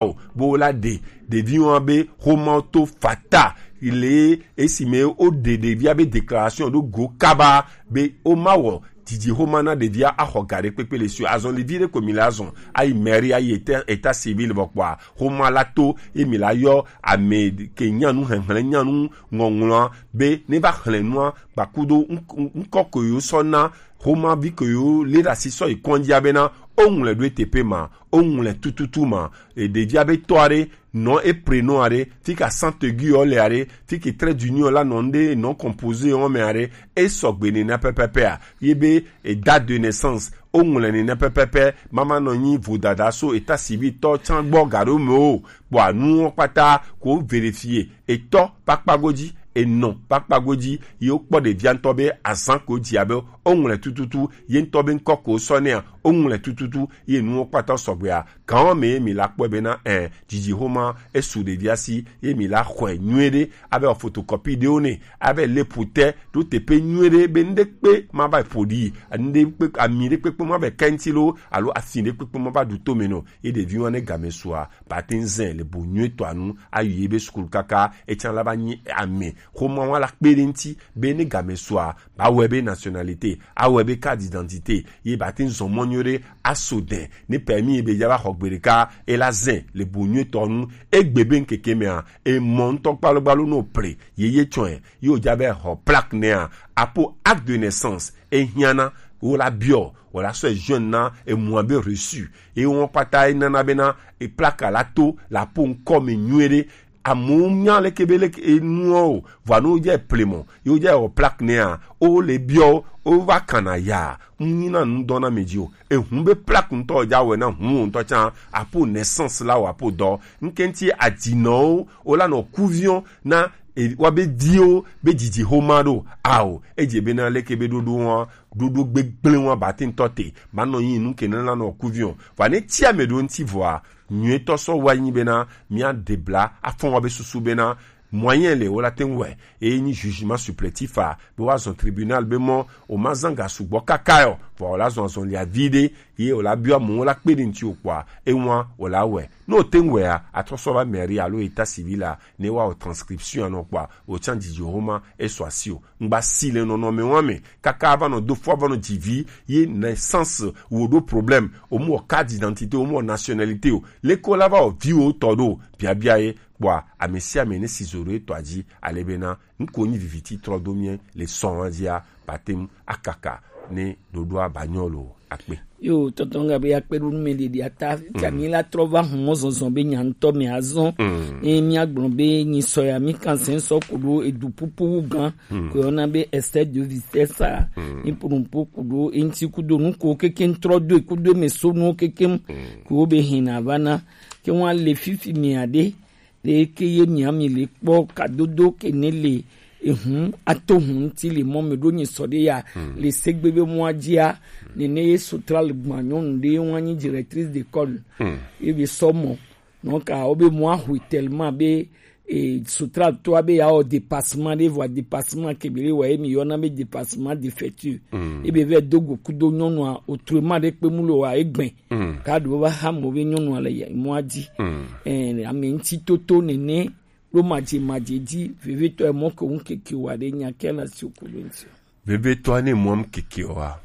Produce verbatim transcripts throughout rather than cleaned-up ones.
o, bo la ɖe ɖevi wɔn be xoma to fata le esime wo ɖe ɖevia be déclaration ɖo go kaba be wo ma wɔ didi xoma na ɖevia axɔ ga ɖe kpekpe le sue. Azɔn li vi ɖe ko mi la zɔn ayi mairie, ayi état, état civil, vɔ kpɔa xoma la to ye mi la yɔ ame ke nyanu xexlẽ nyanu ŋɔŋlɔa be ne va xlẽ nua gbakudo ŋkɔ ke yo sɔ na xoma vi ke yo le ɖe asi sɔ yi kɔnjia bena o ŋlɛ ɖo eteƒe ma, o ŋlɛ tututu ma. E ɖevia be tɔ aɖe nɔ e prénom aɖe, fi ke accent aigu yɔ le aɖe, fi ke trait d'union la nɔ ŋɖe non composé yɔ me aɖe, e sɔgbe nena pɛpɛpɛa ye be e date de naissance o ŋlɛ nena pɛpɛpɛ. Mama nɔ nyi vodada so état civil tɔ tsan gbɔ ga ɖo me o. Kpɔa nuwo kpata ko vérifier, etɔ ƒe akpa godzi, enɔ ƒe akpa godzi, ye wokpɔ ɖevia ŋutɔ be azã ko dzi abe woŋlɔe tututu, ye ŋutɔ be ŋkɔ ko sɔ nɛa, woŋlɔe tututu, ye nuwo kpata sɔgbea. Gãwo me ye mi la kpɔe bena ɛ, dzidzi xoma esu ɖevia si, ye mi la xɔe nyuie ɖe, abe photocopie ɖewo nɛ, abe le ƒo te ɖo teƒe nyuie ɖe be ŋɖe kpe ma va ƒo ɖi, ŋɖe kpe ami ɖe kpekpe ma va kɛŋti lo alo afi ɖe kpekpe ma va ɖu tome nɔ, ye ɖeviwo ne game sua, ba te ŋu zɛ le bu nyuie tɔa nu ayi ye be sukulu kaka etsã la va nyi ame. Xoma wa la kpe ɖe ŋuti be ne game sua, ba wɔe be nationalité, awɔe be carte d'identité, ye ba te ŋu zɔ mɔ nyuie ɖe aso dɛ. Ne permis ye be ya va xɔ gbe ɖeka, e la zɛ le bu nyuie tɔa nu. Egbe be ŋkeke mea, e mɔ ŋutɔ gbalogbalo no ple, ye ye tsɔe, ye o ja be xɔ plaque nɛa, apo acte de naissance, e hiã na, wo la biɔ, wo la sɔe joindre na emua be reçu. Ye wɔn kpata e nana bena e plaque la to la po ŋkɔ me nyuie ɖe. Amewo nya leke be leke enuɔ o, vɔa ne wodze plemɔ, ye wodze wɔ plaque nɛa, wo le biɔ, wo va kana ya, ŋu nyi na nu dɔ na me dzi o. Ehu be plaque ŋutɔ dza wɔe na hu wo ŋutɔ tsã, apo naissance la o, apo dɔ. Ŋkɛnti adinɔwo, wo la nɔ kuviɔ na e, wa be diwo be dzidzi xoma ɖo. Ao, edze bena leke be ɖoɖo wa, ɖoɖo gbegblẽ wa ba te ŋutɔ te, ba nɔ nyi nu ke ne la nɔ kuviɔ. Vɔa ne tsia me ɖo ŋuti vɔa, nyuietɔ sɔ wa nyi bena mia ɖe bla afɔ wa be susu bena moyen le wo la te ŋu wɔe. Eye nyi jugement supplétif a, be woazɔ tribunal be mɔ, o ma zã ga sugbɔ kaka yɔ, vɔa o la zɔ azɔlia vi ɖe, ye o la biɔ amewo la kpe ɖe ŋuti o kpɔa, ewa o la wɔe. Ne o te ŋu wɔea, atrɔ sɔ va mairie alo état civil a, ne wa o transcription anɔ kpɔa, o tsã dzidzi o ma e sɔ asi o. Ŋgba si le nɔnɔme wa me, kaka va nɔ do fɔ, va nɔ dzi vi, ye naissance wo ɖo problème, o mu wɔ carte d'identité, o mu wɔ nationalité o. Leke o la va wɔ vi wo tɔ ɖo, biabia ye, kpɔa, ame sia ame ne si zo ɖo etɔa dzi, ale bena, ŋko nyi viviti trɔ do mie le sɔn dzia, ba te ŋu akaka ne ɖoɖoa ba nyɔ lo akpe. Yo, tɔntɔn Gabriel akpe ɖo nu me ɖeɖi ata, fia mi la trɔ va hun mɔ zɔzɔ be nya ŋutɔ me azɔ. Mm. Ne mi agblɔ be nyi sɔ ya, mi kan sɛn sɔ ko ɖo edu pupu wu gan, mm, ko yɔna be excès de vitesse a, mm, mi ƒo nu ƒo ko ɖo eŋti kudo nu ko keke trɔ do kudo me so nu keke, mm, ko be hin na va na, ke wa le fifi mi aɖe, ɖe ke ye mia mi le kpɔ kadodo ke ne le ehun ato hun ŋuti le mɔ me ɖo nyi sɔ ɖe ya, hmm, le segbe be mɔa dzia, nene ye Sotral gbã nyɔnu ɖe wa nyi directrice d'école. Hmm. Ye be sɔ mɔ, nɔ ka wo be mɔa hui tellement be, e, Sotral to abe ya wɔ dépassement ɖe vɔa dépassement ke be le wa ye mi yɔna be dépassement défectueux. Hmm. Ye be vɛ do go kudo nyɔnua, autrement ɖe kpe mu le wa egbɛ. Mm. Ka ɖewo va xa mɔ be nyɔnua le ya-, mɔa dzi. Mm. Ɛ, ame ŋuti toto nene ɖo madze madze dzi, vevitɔ emɔ ke ŋu keke wa ɖe nya ke na si o ko ɖo ŋuti. Vevitɔ ne mɔ ŋu keke wa,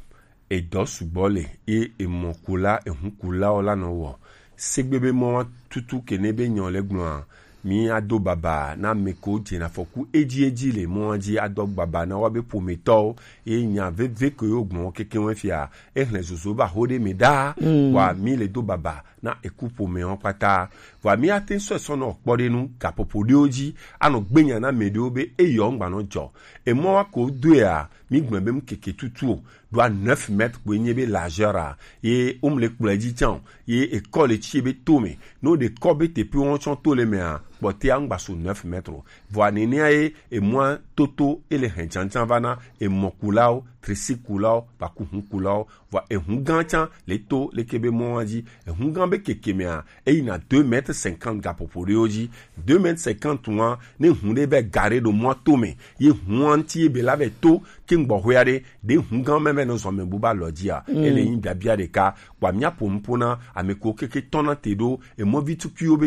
edɔ sugbɔ le, ye emɔ kula, ehu kula o la nɔ wɔ. Segbe be mɔ wa tutu ke ne be nyɔ le gblɔa, mi ado baba na ame kewo dzena afɔku edzi edzi le mɔa dzi, ado baba na woabe ƒometɔwo, ye nya veve ke yewo gblɔ keke ŋu fia, exlẽ zozo va ho ɖe me ɖaa. Mm. Vɔa mi le do baba na eku ƒomewo kpata. Vɔa mi ate sɔ sɔ nɔ kpɔ ɖe nu gaƒoƒo ɖewo dzi, anɔ gbe nya na ame ɖewo be eyɔ ŋgba nɔ dzɔ. Emɔa ko doea, mi gblɔ be mu keke tutu o, ɖoa neuf mètres koe nye be largeur a, ye wo mu le kplɔe dzi tsã o, ye ekɔ le tsi be to me. Ne wo ɖe kɔ be teƒe wo tsɔ to le mea, kpɔtea ŋgba so neuf mètres. Vɔa nenea ye emɔa toto ele hɛn janjan va na emɔkulawo, tricycle-kulawo, ba ku hukulawo. Vɔa ehun gan can le to leke be mɔa dzi. Ehun gan be keke mɛa, eyina deux mètres cinquante gaƒoƒo ɖewo dzi. Deux mètres cinquante wa, ne hun ɖe be ga ɖe ɖo mɔa to mɛ, ye hun wa ŋuti ye be la vɛ to ke ŋgbɔ hwea ɖe, ɖe hun gan mɛ vɛ nɔ zɔn mɛ bu ba lɔ dzia. Ele yin biabia ɖeka. Kpɔa mia po nupo na ame ko keke tɔna te ɖo emɔvi tukuiwo be